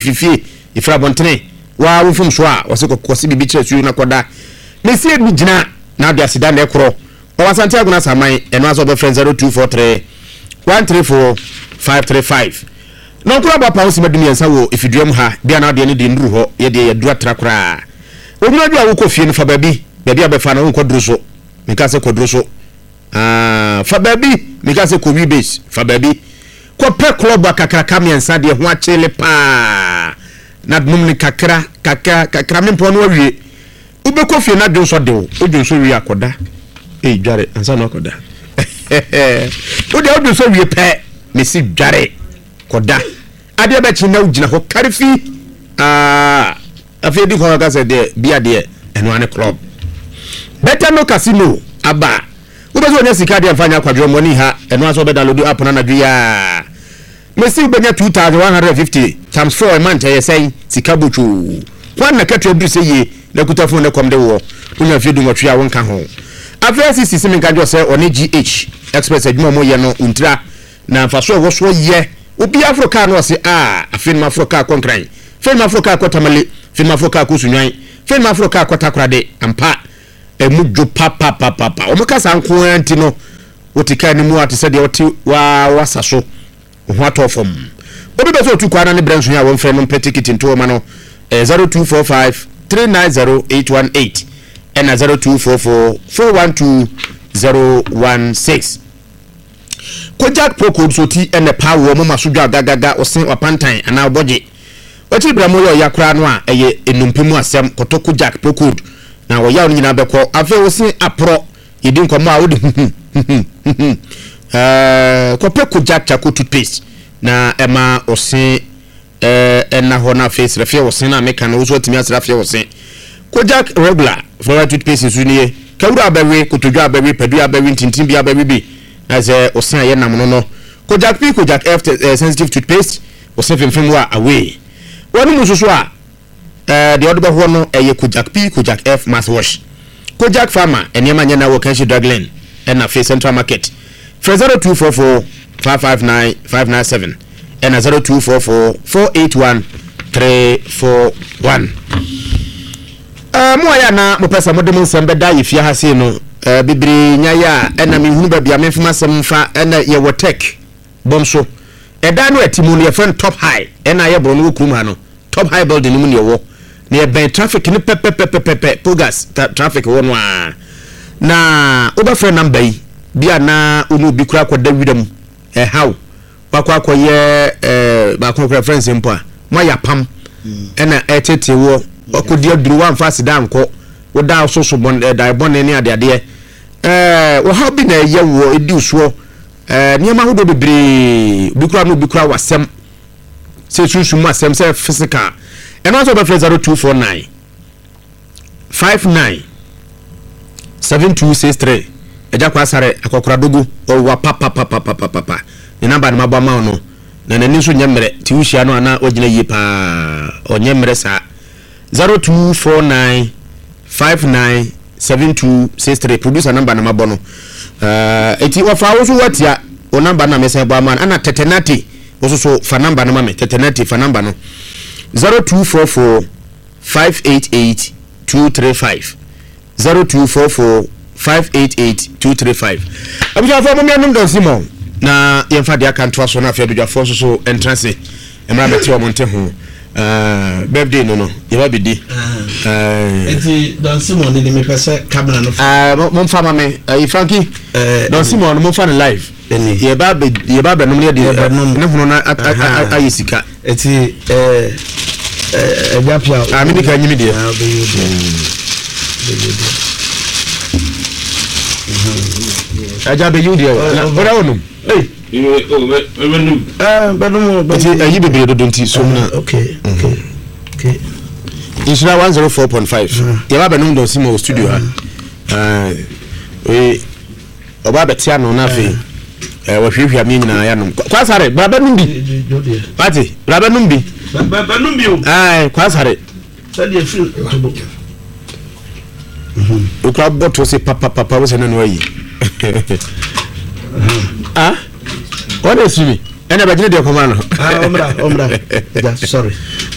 Fifie ɛfiri abɔntene waa wo mfomsoɔ a wɔse kɔse biribi kyerɛ suo na kɔda. Mesie bi gyina na ade aseda na ɛkorɔ. Ɔwɔ Asante Agona Asaman, ɛno ara sɛ wɔbɛfrɛ 0243 134 535. Nɔnkoro abɔ apaa ho sima 13 wɔ efidua mu ha, bia na adeɛ no deɛ nnuru hɔ, yɛ deɛ yɛaduru atra koraa. Onwunu adwo a wokɔ fie no fa baabi, baabi a wobɛfa no wonkɔ duro so, menka sɛ kɔ duro so, ah, fa baabi, menka sɛ kɔ wi base, fa baabi. Kɔpɛ klɔb akakraka mmiɛnsa deɛ ho akyele paa na nom no kakra, kakra, kakra, mempɔn no awie. Wobɛkɔ fie na dwonsɔ de wo, wo dwonsɔ wie a kɔda. Ei dware ansa na wakɔda. Wo deɛ wo dwonsɔ wie pɛ, mesi dware kɔda. Adeɛ bɛkye na wogyina hɔ kare fi. Ah, afei di kwan ka sɛ deɛ bia deɛ ɛno ane club. Better no casino aba. Wobɛ sɛ wɔnya sika deɛ mfa nyɛ akwadworɔ mmɔne ha, ɛno asɛ wobɛ download app no anadwo yi a. Mese wobɛnya 2150 times 4 a month ɛyɛ sɛn? Sika botwoo. Hwan na katua duru sɛ yie na kuta phone na kɔm de woɔ? Wonya mfeɛ dunwɔtwe a wonka ho. Afei Asisi se menka nkyerɛ wo sɛ ɔne GH express adwuma a wɔyɛ no wontira na mfasoɔ a ɛwɔ soɔ yɛ. Obiara foro kaa no ɔse ah afei na maforo kaa kɔ Nkran, afei na maforo kaa kɔ Tamale, afei na maforo kaa kɔ Sunyani, afei na maforo kaa kɔ Takoradi. Ampa ɛmu dwo papapapapa. Wɔka saa nko ara nti no Wote kaa no mu a te sɛ deɛ wote w'asa so, wo ho atɔ fam. Obi pɛ sɛ ɔtu kwan na ne berɛ nso a wɔmfrɛ no mpɛ tikiti nto hɔ ma no, ɛyɛ 0245 390 818 ɛna 0244 412 016. Kojak Pro-Cold nso ti ɛna ɛpaa wɔ moma so dwa gagaga, ɔse wapantan anaa ɔbɔgye. Wakyiri berɛ mo yɛ ɔya koraa no a ɛyɛ nnompe mu asɛm, kɔtɔ Kojak Pro-Cold na ɔyaw no nyinaa bɛkɔ. Afei wo se aporɔ. Yɛdi nkɔmmɔ a wode huhu huhu huhu ɛɛ kɔpɛ Kojak charcoal toothpaste na ɛma wo se ɛɛ ɛna hɔ na afei srɛfeɛ wo se na meka no wo so atumi asrɛfeɛ wo se. Kojak regular fluoride toothpaste nso nie. Kawura abɛwe, kotodwe abɛwe, padua abɛwe, ntintin bi abɛwe bi na sɛ wo se a yɛ nam no no. Kojak P Kojak F sensitive toothpaste wo se femfem wo a away. Wɔnom nso so a Ɛɛ deɛ ɔde bɛhoɔ no ɛyɛ Kojak P, Kojak F mouthwash. Kojak Pharma nneɛma nyɛ na wɔ Kanshi Drug Lane ɛna afei Central Market. Frɛ 0244 559 597 ɛna 0244 481 341. Ɛɛ mo a yɛ a na mopɛ sɛ mode mo nsɛm bɛda yɛ fie ha sei no ɛɛ bebree nya yɛ a ɛna menhunu baabi a memfa m'asɛm mfa ɛna yɛwɔ tech bɔm so. Ɛdan no a ɛte mu no yɛfrɛ no Top High ɛna ayɛ borɔno wɔ kurom ha no. Top High building no mu na yɛwɔ. Na yɛbɛn traffic no pɛpɛpɛpɛpɛ, Pogas traffic hɔ no ara. Na wobɛfrɛ number yi, bi a na wo ne obi koraa akɔda wira mu, ɛhaw, wakɔ akɔyɛ ɛɛ baako koraa frɛ nsɛm mpo a, moayɛ apam, ɛna ɛtetee woɔ, wakɔdi aduro, wamfa aseda ankɔ, woda so so bɔn ɛɛ dae bɔne ne adeadeɛ. Ɛɛ ɔhaw bi na ɛyɛ woɔ, ɛdi wo soɔ, ɛɛ nneɛma ahodoɔ bebree, obi koraa ne obi koraa wɔ asɛm. Sɛ sunsum mu asɛm sɛ physical ɛno asɛ wobɛfrɛ 0249 59 7263 agya kɔ asare akɔkora dogo ɔwa papapapapapa ne namba no mabɔ ama wo no na n'ani nso nyɛ mmerɛ nti wohyia no ana wagyina yie paa ɔnyɛ mmerɛ saa 0249 59 7263 producer number na mabɔ no eti wɔfa wo so watia wo number na mesan bɔ ama no ana tetenate wo so so fa number no ma me tetenate fa number no 0244 588 235 0244 588 235 abusuafoɔ mo mmianom dɔnsi mɔ na yɛmfa deɛ aka ntoa so na afei abadwafoɔ nso so ntra se mmra bɛte wɔn nte ho eh, birthday no no yɛba bɛdi eh. Nti Don Simon ne mepɛ sɛ camera no fa eh, momfa ma me ayi Frankie Don Simon no momfa no live yɛba bɛ yɛba bɛnom ne yɛde ne hono no ayɛ sika. Eti ɛgya pia. Ah, mi ni ka nyimi deɛ. Ah, bɛyɛ deɛ. Bɛyɛ deɛ. Ɛgya bɛyi deɛ. Ɔdɛ wɔnum. Ee. Bɛnum. Bɛnum. Nti ɛyi bebree dodo nti so mu na. Okay, okay, okay. Nhyira 104.5. Yɛba bɛnum dɔn si ma wɔ studio ha. Ee. Ɔba abɛte ano na afei ɛɛ wɔhwiahwia mi nyinaa yɛanom. Kwasare, bra bɛnom bi. Wate, bra bɛnom bi. Bɛnom bi o. Ɛɛ, Kwasare. Sɛdeɛ firi ntobo. Okura bɔtɔ se papapapa wo sɛ ne no ayi. Ah, wɔn na esiri mi. Ɛna bɛgyina deɛ kɔma no. Ah, ɔmra, ɔmra. Sorry.